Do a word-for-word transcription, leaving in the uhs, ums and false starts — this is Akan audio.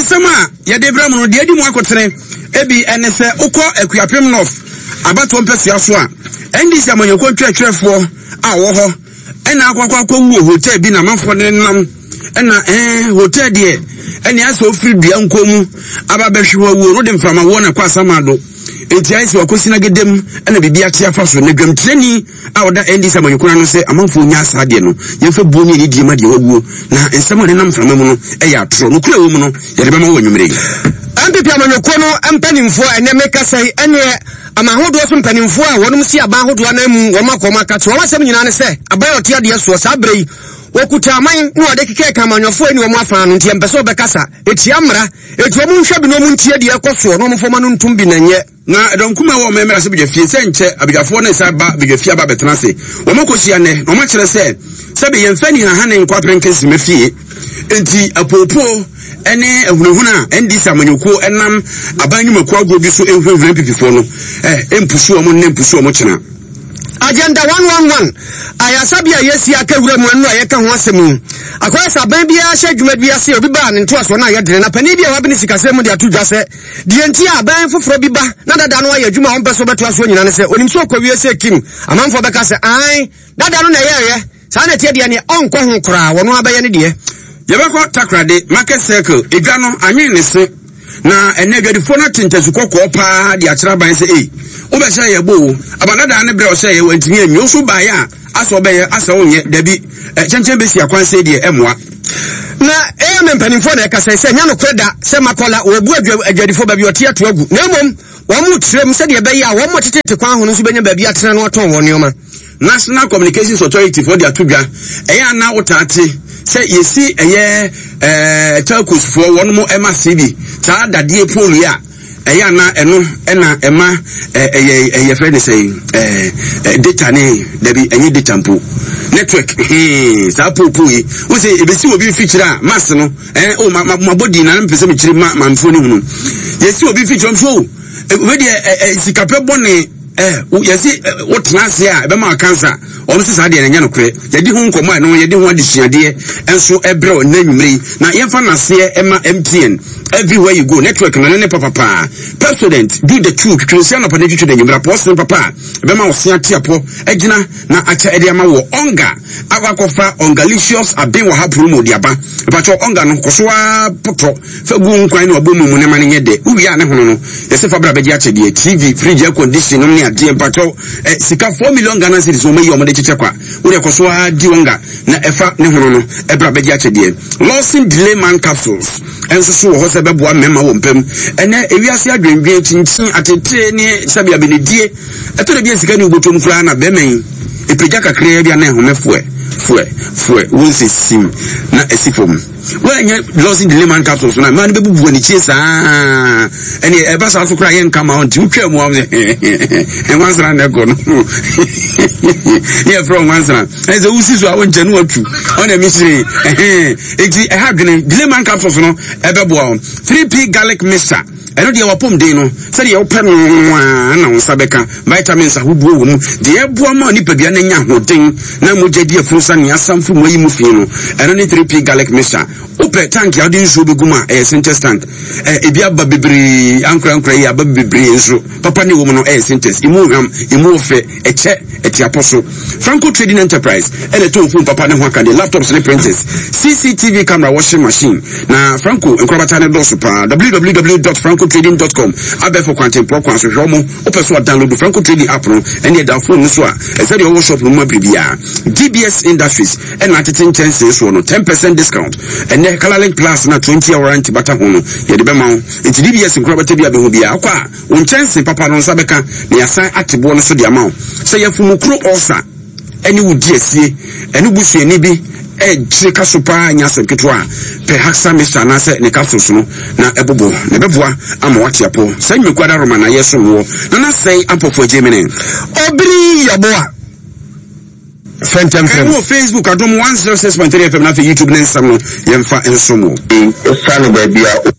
Nsɛm a yɛde brɛ mu no deɛ adi mu akotene ebi ɛne sɛ wokɔ Akuapem North abatoɔ mpɛsua so a N D C amanyɔkuo ntwerɛtwerɛfoɔ a wɔ hɔ ɛna akɔ akɔ akɔwu wɔ hotel bi na amanfoɔ ne nam ɛna ɛɛ hotel deɛ ɛne asɛ ofiri dua nko mu aba bɛhwe hɔ awuo no de mframa wɔ na kɔ asamado enti ayɛ sɛ wakɔsi na gedem ɛna biribi ate afa so na dwamtirani a ɔda N D C amanyɔkuo no sɛ amanfoɔ nya saa deɛ no yɛmfa buo ne anidie ma deɛ wawuo na nsɛm a nenam mframa mu no ɛyɛ atorɔ nokorɛ wɔ mu no yɛde bɛma wɔ anwummerɛ yi. N P P amanyɔkuo no mpanimfoɔ ɛnɛ meka sɛ ɛneɛ ama ahodoɔ so mpanimfoɔ a wɔnom si aban ahodoɔ anan mu wɔn akɔ wɔn aka kyerɛ wɔn asɛm nyinaa ne sɛ aban a ɔte adeɛ soɔ saa berɛ yi wɔkuta aman na wɔde keka ka amanyɔfoɔ ani wɔn afa no nti ɛmpɛ sɛ wɔbɛkasa etia mmara eti wɔn nhwɛ bi na wɔn ntie deɛ ɛkɔ soɔ na wɔn fɔma no ntom bi na nyɛ. Na dɔnkuma wɔ mɛmɛra sɛ badwafie sɛ nkyɛ abadwafoɔ ne nsa ba badwafie aba bɛtena ase wɔn akɔhyia nnɛ na wɔn akyerɛ sɛ sɛbi yɛmfa ni hahane nkɔ apɛnkɛnsima fie nti apoopoo ɛne ahunahuna a N D C amanyɔkuo ɛnam aban nnwumakuo agorɔ bi so ehunahuna mpipifoɔ no ɛ mpusu wɔn ne mpusu wɔn kyena. Agenda one one one ayasabi a yɛsi aka wura mu anu a yɛka ho asɛm yi akɔyɛ sɛ aban biara hyɛ adwuma bi ase obi baa ne ntoasoɔ no a yɛdene na panin bi a wabene sikasɛm mu de ato dwa sɛ deɛ nti a aban foforɔ bi ba na dada no ayɛ adwuma a ɔmpɛ so bɛtoa soɔ nyina ne sɛ onim sɛ ɔkɔwie sɛ kim amanfoɔ bɛka sɛ ae dada no na ɛyɛɛyɛ saa na ɛteɛ deɛ neɛ ɔnkɔ ho koraa wɔno abɛyɛ ne deɛ. Yɛbɛkɔ Takoradi Market Circle edwa no anwen ne se na ɛnɛ adwadifoɔ no ate ntasu kɔkɔɔ paa de akyerɛ aban sɛ ei wobɛhyɛ yɛ bo o abadadaa ne berɛ ɔhyɛ yɛ wantumi anwie wo so baeɛ a asɛ ɔbɛyɛ asɛ wonyɛ dabi kyɛnkyɛn bɛsi akwan sɛ deɛ ɛmmoa. Na ɛyɛ me mpanimfoɔ na ɛka sɛ sɛ nya nokorɛ da sɛ makɔla wɔbu adwadifoɔ baabi ɔte ato agu na mmom wɔn mo tiram sɛdeɛ ɛbɛyɛ a wɔn mo tetete kwan ho no nso bɛnya baabi atena no atɔn wɔn nneɛma. National Communications Authority for the ato dwa ɛyɛ ana wotaate sɛ yɛsi ɛyɛ ɛɛ telcos foɔ wɔn mo ɛma C B saa dadeɛ pole yi a ɛyɛ ana ɛno ɛna ɛma ɛyɛ ɛyɛ fɛ ne sɛ ɛɛ data ne dabi ɛnyɛ data mpo network hee saa pole pole yi wosɛ ebesi obi mfikyire a mass no ɛɛ o ma ma ma bɔ di na mpɛ sɛ mekyerɛ ma ma mfo ne hunu yɛsi obi mfikyire mfo wei deɛ ɛɛ sikapɛ bɔ ne eh yɛsi wotena ase a ɛbɛma cancer ɔno sɛ saa deɛ ɛnyɛ nokorɛ yɛdi ho nkɔmmɔ a ɛno yɛdi ho adesuadeɛ nso ɛbrɛ nnɛ anwummere yi na yɛmfa n'aseɛ ɛma M T N everywhere you go network no ne ne papapaa Pepsodent do the two twitwi nsia nɔpa ne twitwi n'anwummere apɔ ɔsene papa a ɛbɛma ɔse ate apɔ agyina na akyɛ ɛde ama wɔ ɔnga akɔ akɔfa ɔngalicious aben wɔ ha promo de aba ɛpakyɛ ɔnga no kɔ so a potɔ fa gu nkwan ne ɔbɔ mu mu ne ma ne nyɛ dɛ wowie a ne hono no yɛsɛ fa bra bɛgye akyɛdeɛ T V fridge air condition nom ne adeɛ mpakyɛw eh, sika four million Ghana cedis wɔn ayi wɔn de kyekyɛ kwa wode kɔ so a di ɔnga na ɛfa ne hono no ɛbra bɛgye akyɛdeɛ Lawson Delay Man capsules ɛnso so wɔ hɔ sɛ bɛboa mmarima wɔ mpam ɛnɛ ewiase adwendwen kyinkyin atetee ne sɛbi abenedie ɛtɔ da bi a sika ne wobɔtɔm koraa na bɛrima yi epagya kakraa bi a na ɛhome foɛ foɛ foɛ wɔn sɛ sim na ɛsi fam wɔnyɛ Lawson Delay Man capsules na mmaa no bɛbubu wɔn akyi saa ɛne ɛba saa so koraa yɛ nka ma wɔn nti wotwa mu a wɔn sɛ nwansena na ɛkɔ no ne yɛfrɛ nwansena ɛsɛ sɛ wosi so a wɔnkyɛn no watu ɔna mi hyerɛn ɛhɛn eti ɛha dwene Delay Man capsules no ɛbɛboa wɔn three P garlic mixture ɛno deɛ wapɔm den no sɛdeɛ wopɛ no a na wo nsa bɛka vitamins ahodoɔ wɔ mu deɛ ɛboa ma nipadua no anya ahoɔden na mogya di afunu sa nea asamfo mu ayi mu fi no ɛno ne three P garlic mixture wopɛ tank a wode nsuo bɛgu mu a ɛyɛ Sintex tank ebi aba bebree ankorankora yi aba bebree nso papa ne wɔ mu no ɛyɛ Sintex emu hwam emu ɔfɛ ɛkyɛ ɛtiapɔ so Franco Trading Enterprise ɛna ɛtɔn phone papa ne ho aka de laptops ne printers C C T V camera washing machine na Franco nkorabata ne dɔɔso paa w w w dot franco trading dot com abɛfo kwantempɔ kwan so hwɛ ɔmo wopɛ so a download Franco Trading app no ɛne ɛda phone no so a ɛsɛ deɛ ɔwɔ shop no mu abiribiara D B S Industries ɛna atete nkyɛnsee soɔ no ten percent discount ɛnɛ Colorlink Plus na twenty hour warranty bata ho no yɛde bɛma wo nti D B S nkorabata bi abɛho biara akɔ a wo nkyɛnsee papa no nsa bɛka na yɛasan ate boɔ no so de ama wo sɛ yɛfumukuro ɔsa ɛne wo di asie ɛne busuani bi ɛkyerɛ ka so paa nya asɛm ketewa a pɛ Haxa mixture anaasɛ ne capsules no na ɛbobɔ na ɛbɛboa ama wate apɔ saa nnwumakuo adaroma na yɛsom wɔ na nasɛe ampɔfoɔ agye mene Obiri Yɛboa Fɛntɛmfɛm. Ɛwɔ Facebook Adom one zero six point three F M na afei YouTube ne nsɛm no yɛmfa nsom wo. Osiane baabi a